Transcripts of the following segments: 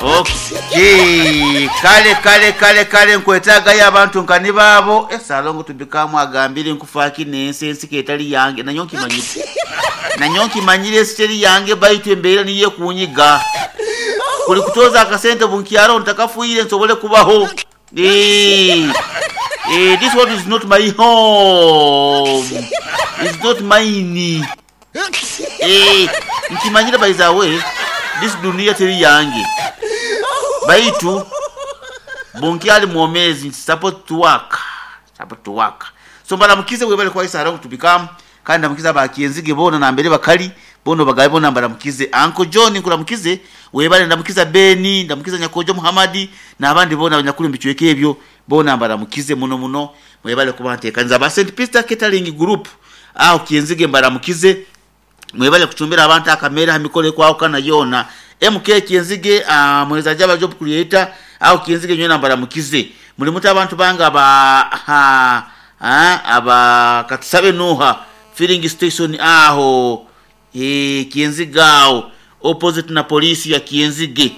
Okay. Kale kale kale kale nkwetaagayo abantu nka ni baabo. Eh, Ssalongo Tubikamu agambire nkufaaki n'ensi ensi k'etali yange. Nanyowe nkimanyire. Nanyowe nkimanyire ensi teri yange baitu embeera niyo ekunyiga. Kuli kutooza akasente bunkyaraho ntakafiire nsobole kubaho. Eh, eh, this world is not my home. It's not mine. Eh, nkimanyire by the way, this dunia teri yange. Baitu bunkyali mwomezi supposed to work. Supposed to work. So mbaramukize webale kwa Isara tubikamu kandi ndamukiza abakyenzige bona nambere bakali bono bagabe bona mbaramukize Uncle John nkuramukize webale ndamukiza Beni ndamukiza Nyakojo Muhammad n'abandi bona abanyakuru mbicweke ebyo bona mbaramukize muno muno mwebale kuba ntekaniza ba St Peter Catering Group aho kyenzige mbaramukize mwebale kuchumbira abantu akamera hamikole kwao kana yona MK Kyenzige mweza jaba job creator aho Kyenzige nywena mbaramukize muri muta abantu banga ba ha, ha, aba katusabe nuha filling station aho Kyenzige aho opposite na polisi ya Kyenzige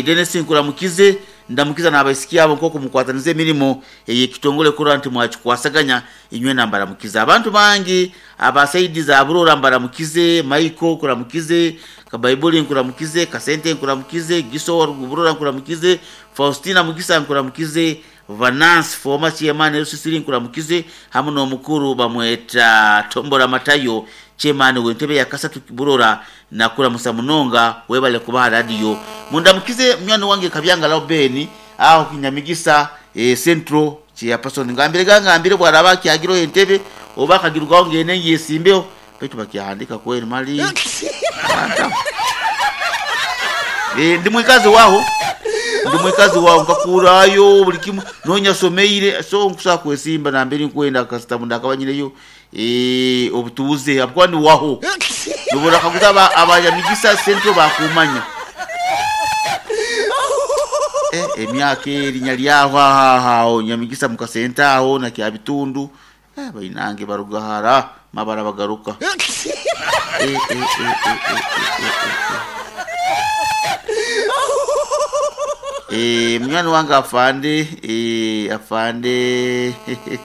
Dennis nkuramukize ndamukiza n'abaisiki abo nk'oku mukwataniza emirimo ey'ekitongole kurora nti mwakikwasaganya inywe nambaramukize abantu bangi abasaidi za Burora mbaramukize Michael kuramukize Kabaibuli nkuramukize Kasente nkuramukize Giso Burora nkuramukize Faustina Mugisa nkuramukize Vanance former chairman LCC nkuramukize hamwe n'omukuru bamweta Tombora Matayo chairman w'entebe ya Kasatu Burora nakuramusa munonga webale kubaha radio mundamukize mnyano wange Kabyanga Laubeni aho Kinyamigisa Central chairperson ngambire gangambire bwaraba kyagiro entebe oba kagirwaho ngene yesimbeho baitu bakyahandika kweri mali ndi mwikazi waho ndi mwikazi waho nkakurayo buli kimu nonya someire so nkusa kwesimba nambere nkwenda kasita ndakabanyireyo obutuuze abukuba ni waho nubona kaguza abanyamigisa Central bakumanya emyaka erinya lyaho aho Nyamigisa mukasenta aho na Kyabitundu bainange barugahara mabara bagaruka mnyani wange afande afande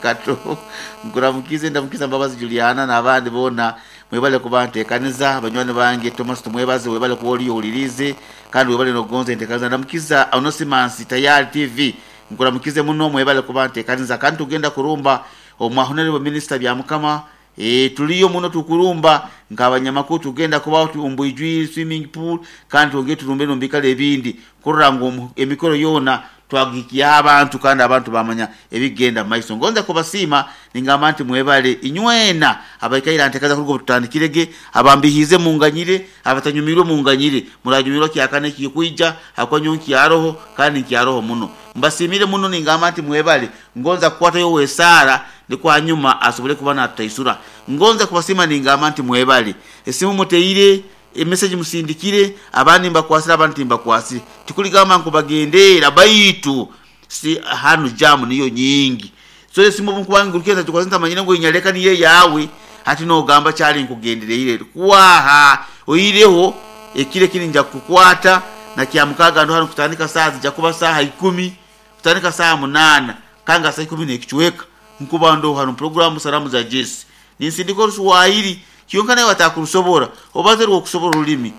Kato nkuramukize ndamukiza Mbabazi Juliana n'abandi bona mwebale kuba ntekaniza banywani bange Thomas tumwebaze webale kuba oliyo ulirize kandi webale nogonza entekaniza ndamukiza Onosimansi Tayari TV nkuramukize muno mwebale kuba ntekaniza kandi tugenda kurumba omwa minister bya mukama tuliyo muno tukurumba nk'abanyamakuru tugenda kubaho tumbwijwi swimming pool kandi twongere turumbe nombikale ebindi kurora ngu emikoro yona twagikiya abantu kandi abantu bamanya ebigenda maiso ngonza kubasiima ningamba nti mwebale inywena abaikaira ntekaza kurugo tutandikirege abambihize munganyire abatanyumirwe munganyire muranyumirwa kyakane kikuija hakwanyo kyaroho kandi kyaroho muno mbasimire muno ningamba nti mwebale ngonza kukwata yo wesara ndiko nyuma asobole kuba nataisura ngonza kubasima ningamba nti mwebale esimu muteire emessage musindikire abandi mbakwasira abandi mbakwasire tikuligamba nkubagendera baitu si hanu jamu niyo nyingi so esimu nkubangurukiza tukwasenta manyina ngo inyaleka niye yawe hati nogamba kyali nkugendereire kwaha oyireho ekire kininja kukwata na kyamukaga ndo hanu kutandika saa zija kuba saa 10 kutandika saa 8 kanga saa 10 nekichweka nkuba ndo hanu programu salamu za Jesse ninsindiko Ruswahili kyonka naye watakurusobora obaze rwokusobora olulimi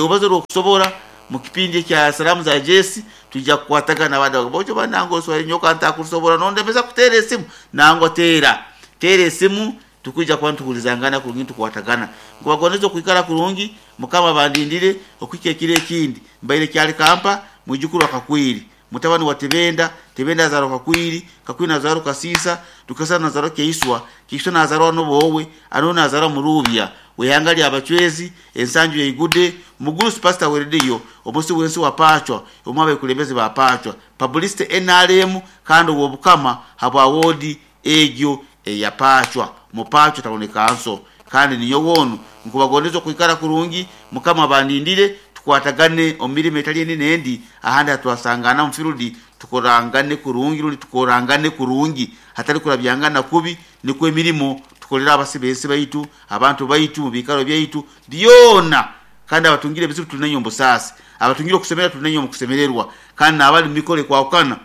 obaze rwokusobora mu kipindi kya salamu za Jesse tujja kukwatagana abandi bojo banango Swahili nyoka ntakurusobora nondemeza kutera esimu nango tera esimu tukujja kuba ntuhulizangana kurungi tukwatagana nkubagoneza okwikara kurungi mukama bandindire okwika ekiro ekindi mbaire kyali kampa mwijukuru akakwiri mutabani wa Tebenda Tebenda azarwa Kakwiri Kakwiri nazarwa Kasisa Tukasa nazarwa Keiswa Keiswa nazarwa Nobowe ano nazarwa Murubya wehangali abachwezi ensanju yeigude mugurusi pastor weredio omusi wensi wapachwa omwabe kulembeze bapachwa publicity NRM kandi wobukama habwa wodi egyo eyapachwa mupachwa taoneka nso kandi niyo wonu nkubagoneza kwikara kurungi mukama bandindire tukwatagane omirimo etali eni nendi ahandi atwasangana mufirudi tukorangane kurungi ruli tukorangane kurungi hatari kurabyangana kubi nikwo emirimo tukolera abasibensi baitu abantu baitu mu bikaro byaitu byona. Kandi abatungire ebizibu tuli nainywe omu busaasi, abatungire okusemererwa tuli nainywe omu kusemererwa, kandi n'abali mu mikoro ekwahukana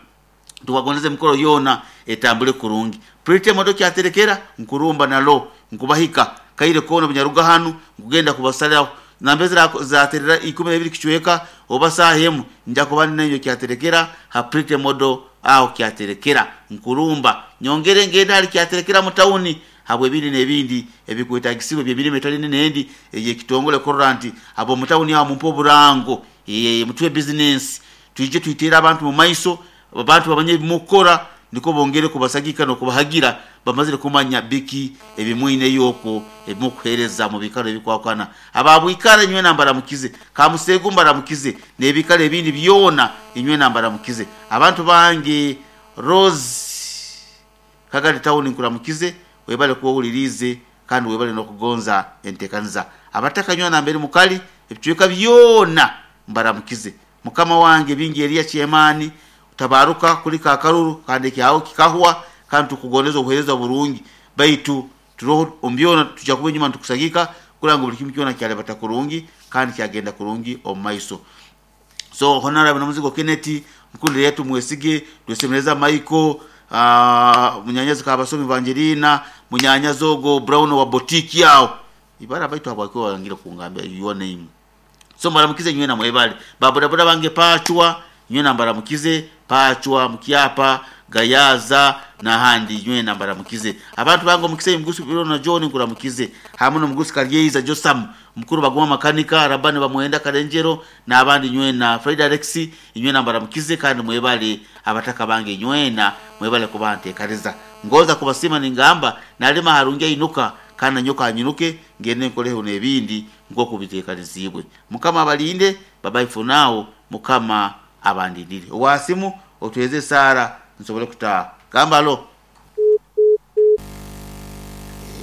tubagondeze emikoro yoona etambule kurungi. Pretty Modo kyaterekera nkurumba nalo nkubahika kaire koona obunyaruga hanu nkugenda kubasaliraho nambere ziraterera 12 kicweka oba saaha emu nja kuba ndi nainywe kyaterekera ha Pretty Modo aho kyaterekera nkurumba nyongere ngende hali kyaterekera mu tawuni habw'ebindi n'ebindi ebikwetagisibwa eby'emirimo etali n'endi ey'ekitongole kurora nti ab'omu tawuni aho mumpe oburango, mutuhe bizinensi twije twiteere abantu mu maiso, abantu bamanye ebimukukora nikwo bongere kubasagika n'okubahagira bamazire kumanya biki ebimwineyo okwo ebimukuheereza mu biikaro ebikwahukana. Aba bwikara inywena mbaramukize, Kamuseegu mbaramukize n'ebiikaro ebindi byona inywena mbaramukize. Abantu bange Rose Kagadi tawuni nkuramukize, webale kuba owuliriize kandi webale n'okugonza enteekaniza. Abataka nywena nambere mukali ebicweka byona mbaramukize. Mukama wange Bingi Eriya Kyemaani tabaruka kulika akaruru kandi ekyaho kikahwa kandi tukugondeza obuheereza burungi baitu turoho omu byona tujja kuba enyuma nitukusagika kurora ngu buli kimu kyona kyalibata kurungi kandi kyagenda kurungi omu maiso. So Honorable Namuzigo Kenneth, Mukundire yetu Mwesige, Twesemereza Michael, munyanyazi Kabasomi Evangelina, munyanyazi ogo Brown wa boutique aho. Ibara baitu habwaki wangire kungambira your name. So mbaramukize nywena mwebale. Ba bodaboda bange Pachwa, nywena mbaramukize, Pachwa, Mukyapa, Gayaza n'ahandi nywena mbaramukize. Abantu bange omukisa Mugusi Birona John nkuramukize. Hamu n'omugusi Karyeiza Josam, mukuru Baguma Makanika, Rabani Bamwenda Karenjero n'abandi nywena Fred Alex inywena mbaramukize kandi mwebale abataka bange nywena mwebale kuba nteekaniza. Ngonza kubasiima ningamba nalima harungi ainuka kandi nanyoka anyinuke ngende nkoleho n'ebindi nk'oku biteekaniziibwe. Mukama abalinde, bye bye for now, Mukama abandindire. Owa simu otweze esaara nsobole kutaaha. Gamba alo.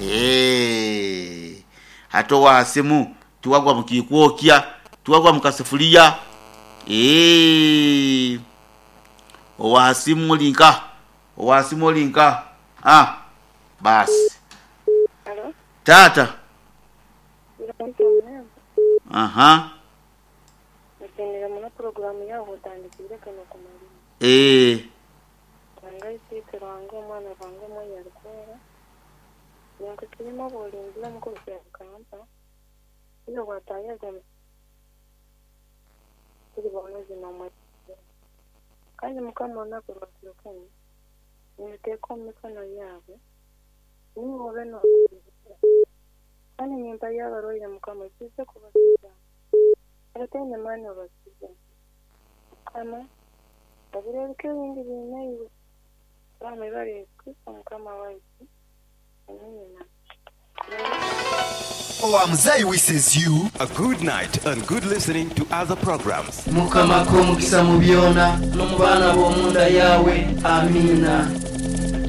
Eeh, hati owa simu tiwagwa mu kiikwokya, tiwagwa mu kasefuliya. Eeh, owa simu oli nka? Owa simu oli nka? Ah, baasi. Halo. Taata. Aha. Nsiimire muno puroguraamu yaawe otandikiire kanu okumalirra. Eeh. Ruhanga Isiitwe, Ruhanga Omwana, Ruhanga Omwoyo Arikwera, ninkusiima obu orinzire omuka okuhika okampa, iwe waataayaga omu turi boomezi noomwesiga. Kandi Mukama olunaku rwa kiro kinu ninduteeka omu mikono yaawe, niiwe obe noorubebembera. Kandi nimpayo abarwaire Mukama oikirize kubakiza, abataine maani obakize. Mukama, ebiro ebike ebindi biine iwe. Twaha mwibare Yesu Kristo Mukama waitu. Amiina. Owa Muzei wishes you. A good night and good listening to other programs. Mukama akuhe omugisa mu byona, n'omu baana ab'omu nda yaawe. Amiina.